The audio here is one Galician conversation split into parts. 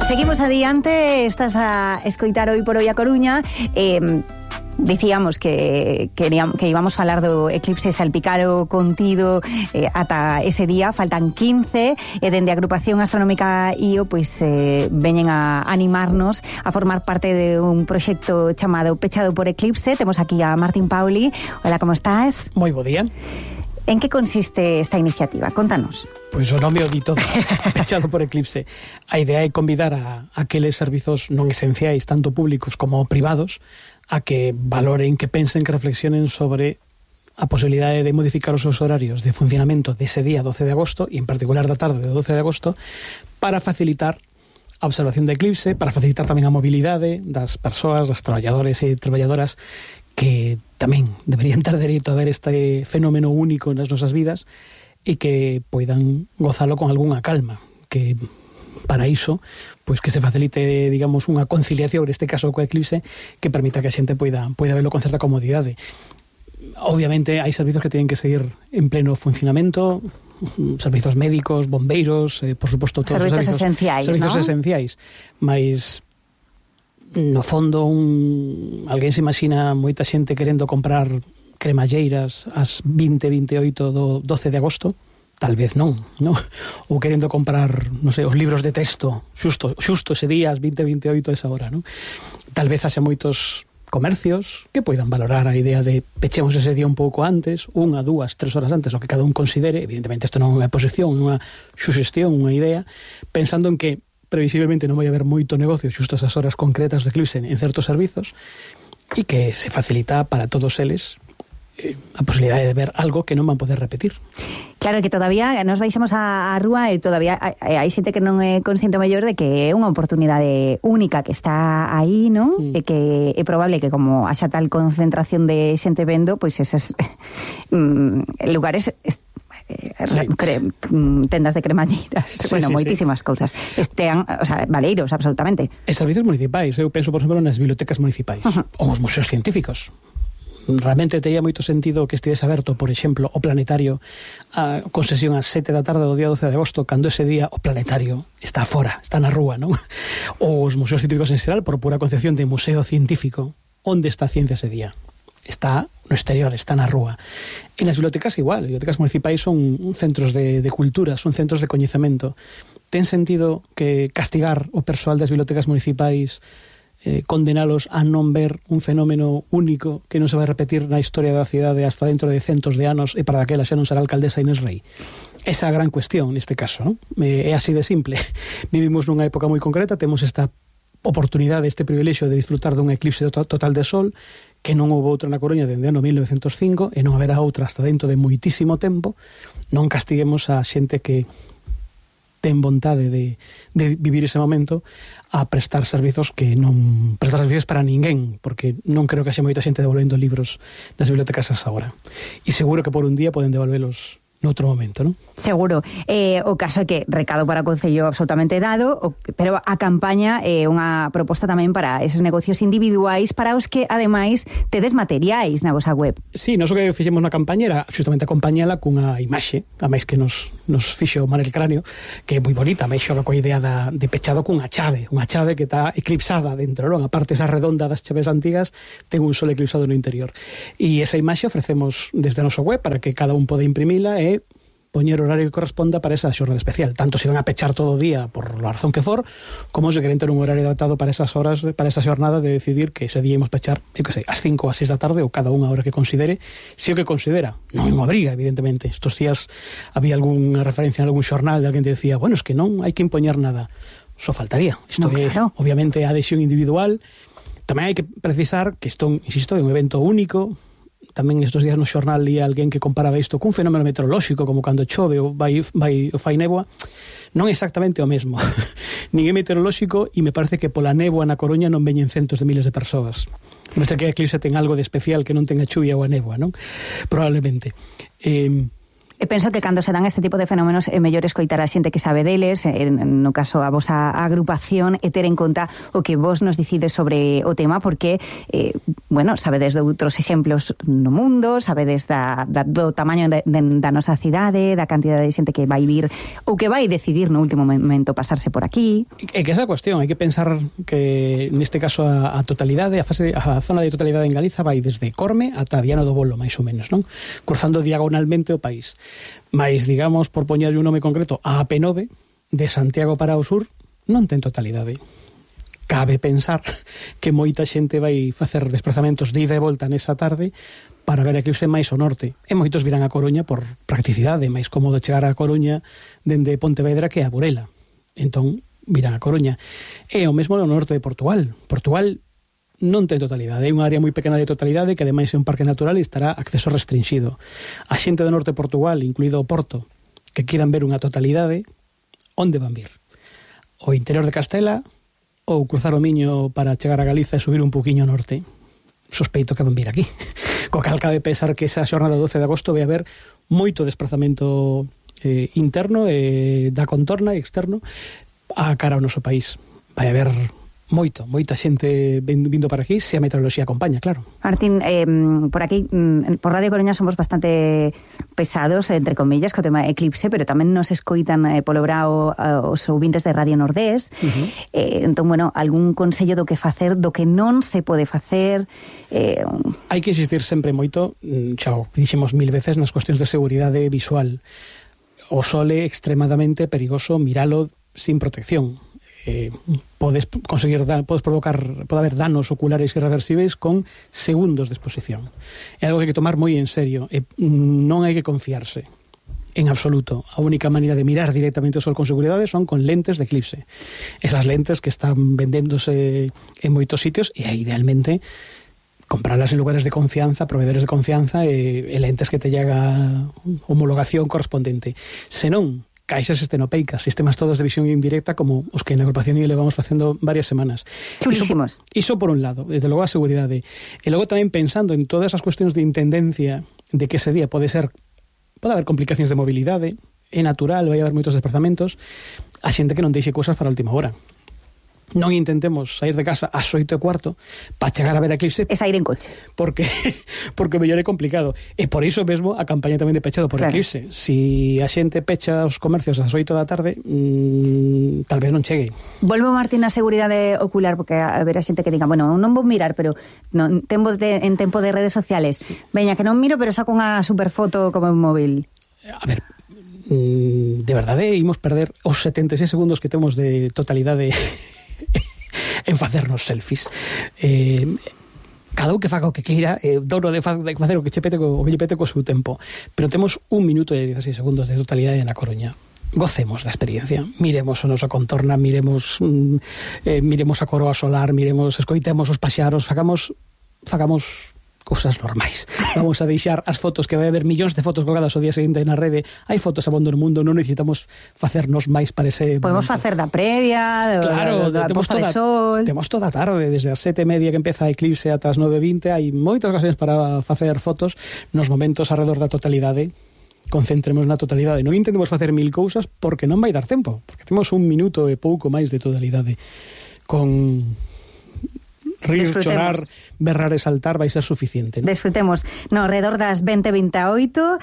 Seguimos adiante, estás a escoitar Hoy por Hoy a Coruña. Dicíamos que íbamos a falar do eclipse salpicado contido ata ese día, faltan 15 e dende a agrupación astronómica IO pois veñen a animarnos a formar parte de un proxecto chamado Pechado por Eclipse. Temos aquí a Martín Pauli. Hola, como estás? Moi bo día. En que consiste esta iniciativa? Contanos. Pois o nome o di todo, Pechado por Eclipse. A idea é convidar a aqueles servizos non esenciais, tanto públicos como privados, a que valoren, que pensen, que reflexionen sobre a posibilidade de modificar os seus horarios de funcionamento dese día 12 de agosto, e en particular da tarde do 12 de agosto, para facilitar a observación do eclipse, para facilitar tamén a mobilidade das persoas, das traballadores e traballadoras que tamén deberían ter dereito a ver este fenómeno único nas nosas vidas e que poidan gozalo con algunha calma, que para iso, pois que se facilite, digamos, unha conciliación, neste caso co eclipse, que permita que a xente poida verlo con certa comodidade. Obviamente hai servizos que teñen que seguir en pleno funcionamento, servizos médicos, bombeiros, por suposto todos servizos os esenciais, servizos ¿no? esenciais, mas no fondo alguén se imagina moita xente querendo comprar cremalleiras ás 20:28 do 12 de agosto. Tal vez non, no? Ou querendo comprar, non sei, os libros de texto xusto ese día, ás 20:28 esa hora, non? Tal vez haxa moitos comercios que poidan valorar a idea de pechemos ese día un pouco antes, 1, 2, 3 horas antes, o que cada un considere. Evidentemente isto non é unha posición, unha suxestión, unha idea, pensando en que previsiblemente non vai haber moito negocio xusto esas horas concretas de eclipse en certos servizos, e que se facilita para todos eles a posibilidade de ver algo que non van poder repetir. Claro, que todavía nos baixamos á rúa e todavía hai xente que non é consciente mellor de que é unha oportunidade única que está aí, non? E que é probable que como haxa tal concentración de xente vendo, pois eses lugares tendas de cremalleiras, moitísimas cousas estean, o sea, valeiros, absolutamente. E servizos municipais, eu penso, por exemplo, nas bibliotecas municipais, ou os museos científicos. Realmente tería moito sentido que estivese aberto, por exemplo, o planetario con sesión ás 7 da tarde do día 12 de agosto, cando ese día o planetario está fora, está na rúa, non? Ou os museos científicos en xeral, por pura concepción de museo científico. Onde está a ciencia ese día? Está no exterior, está na rúa. E nas bibliotecas igual, bibliotecas municipais son centros de cultura, son centros de coñecemento. Ten sentido que castigar o persoal das bibliotecas municipais, condenalos a non ver un fenómeno único que non se vai repetir na historia da cidade hasta dentro de centos de anos, e para daquela xa non será alcaldesa Inés Rei? Esa é a gran cuestión neste caso, non? É así de simple. Vivimos nunha época moi concreta, temos esta oportunidade, este privilexio de disfrutar dun eclipse total de sol, que non houve outra na Coruña dende o ano 1905, e non haberá outra hasta dentro de moitísimo tempo. Non castiguemos a xente que ten vontade de vivir ese momento a prestar servizos que non prestar servizos para ninguén, porque non creo que haxe moita xente devolvendo libros nas bibliotecas asa hora, e seguro que por un día poden devolvelos noutro momento, non? Seguro. O caso é que recado para o Concello absolutamente dado, pero a campaña é unha proposta tamén para eses negocios individuais para os que, ademais, tedes materiais na vosa web. Sí, nós o que fixemos na campaña era justamente acompañala cunha imaxe, a máis que nos fixo Manel Cráneo, que é moi bonita, máis xoga coa idea de pechado cunha chave que está eclipsada dentro, non? A parte esa redonda das chaves antigas ten un sol eclipsado no interior. E esa imaxe ofrecemos desde a nosa web para que cada un pode imprimila e poñer o horario que corresponda para esa xornada especial, tanto se van a pechar todo o día por a razón que for, como se queren ter un horario adaptado para esas horas, para esa xornada de decidir que ese día imos pechar, eu que sei, ás 5 ou ás 6 da tarde, ou cada unha hora que considere, se o que considera, non é unha obriga, evidentemente. Estos días había algunha referencia en algún xornal de alguén que decía, bueno, es que non hai que impoñer nada. Só faltaría. Isto é, claro, obviamente, a adhesión individual. Tamén hai que precisar que isto, insisto, é un evento único. Tamén estes días no xornal li alguén que comparaba isto cun fenómeno meteorolóxico, como cando chove ou fai néboa. Non é exactamente o mesmo. Nin é meteorolóxico, e me parece que pola néboa na Coruña non veñen centos de miles de persoas. Non sei que a eclipse ten algo de especial que non ten a chuvia ou a néboa, non? Probablemente. E penso que cando se dan este tipo de fenómenos é mellor escoitar a xente que sabe deles, no caso a vosa agrupación, e ter en conta o que vos nos dicides sobre o tema, porque, bueno, sabedes de outros exemplos no mundo, sabedes do tamaño da nosa cidade, da cantidad de xente que vai vir ou que vai decidir no último momento pasarse por aquí. É que esa cuestión, hai que pensar que neste caso a totalidade, a zona de totalidade en Galiza vai desde Corme ata Viana do Bolo, máis ou menos, non? Cruzando diagonalmente o país. Mais, digamos, por poñerlle un nome concreto, a AP9 de Santiago para o sur non ten totalidade. Cabe pensar que moita xente vai facer desplazamentos de ida e volta nesa tarde para ver a eclipse máis ao norte. E moitos virán a Coruña por practicidade, máis cómodo chegar a Coruña dende Pontevedra que a Burela. Entón, virán a Coruña. E o mesmo no norte de Portugal. Portugal non ten totalidade, é unha área moi pequena de totalidade que ademais é un parque natural e estará acceso restringido. A xente do norte de Portugal, incluído o Porto, que quieran ver unha totalidade, onde van vir? O interior de Castela ou cruzar o Miño para chegar a Galiza e subir un poquinho ao norte? Sospeito que van vir aquí. Co cal cabe pensar que esa xornada 12 de agosto vai haber moito desplazamento interno da contorna e externo a cara ao noso país. Vai haber moita xente vindo para aquí, se a meteoroloxía acompaña, claro. Martín, por aquí, por Radio Coruña somos bastante pesados, entre comillas, co tema eclipse, pero tamén nos escoitan polo brao os ouvintes de Radio Nordés. Entón, bueno, algún consello do que facer, do que non se pode facer? Hai que insistir sempre moito, xa o dixemos 1000 veces, nas cuestións de seguridade visual. O sol é extremadamente perigoso miralo sin protección. Pode haber danos oculares irreversibles con segundos de exposición. É algo que hai que tomar moi en serio, non hai que confiarse en absoluto. A única maneira de mirar directamente o sol con seguridade son con lentes de eclipse. Esas lentes que están vendéndose en moitos sitios e idealmente comprarlas en lugares de confianza, proveedores de confianza e lentes que te llega homologación correspondente. Senón, caixas estenopeicas, sistemas todos de visión indirecta como os que na agrupación IE levamos facendo varias semanas. Chulísimos. Iso por un lado, desde logo a seguridade. E logo tamén pensando en todas as cuestións de intendencia de que ese día pode haber complicacións de mobilidade, é natural, vai haber moitos desplazamentos, a xente que non deixe cousas para a última hora. Non intentemos sair de casa ás 8:15 para chegar a ver a eclipse. É sair en coche. Porque mellor é complicado. E por iso mesmo a campaña tamén de pechado por eclipse. Si a xente pecha os comercios ás 8 da tarde, tal vez non chegue. Volvo, Martín, a seguridade ocular, porque a ver a xente que diga, bueno, non vou mirar, pero en tempo de redes sociales. Sí. Veña, que non miro, pero saco unha superfoto como un móvil. A ver, de verdade imos perder os 76 segundos que temos de totalidade en facernos selfies. Cada un que faga o que queira, dono de facer o que lle pete co seu tempo, pero temos 1 minuto e 16 segundos de totalidade na Coruña. Gocemos da experiencia, miremos a nosa contorna, miremos a coroa solar, escoitemos os paxaros, fagamos cousas normais. Vamos a deixar as fotos, que vai haber millóns de fotos colgadas o día seguinte na rede. Hai fotos abondo no mundo, non necesitamos facernos máis para ese Podemos facer da previa, da posta de sol. Temos toda a tarde, desde as 7:30 que empeza a eclipse ata as 9:20, hai moitas ocasións para facer fotos nos momentos alrededor da totalidade. Concentremos na totalidade. Non intentemos facer 1000 cousas porque non vai dar tempo, porque temos 1 minuto e pouco máis de totalidade. Con rir, chorar, berrar e saltar vai ser suficiente, ¿no? Desfrutemos no redor das 20:28,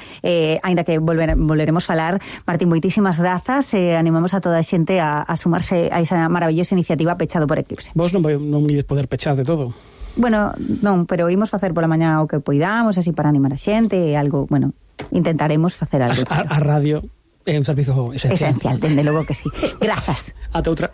aínda que volveremos falar. Martín, moitísimas grazas, animamos a toda a xente a sumarse a esa maravillosa iniciativa Pechado por Eclipse. Vos non ides poder pechar de todo. Bueno, non, pero imos facer pola mañá o que poidamos, así para animar a xente, algo, bueno, intentaremos facer algo. A radio é un servizo esencial. Esencial, dende logo que sí. Grazas. Ata outra.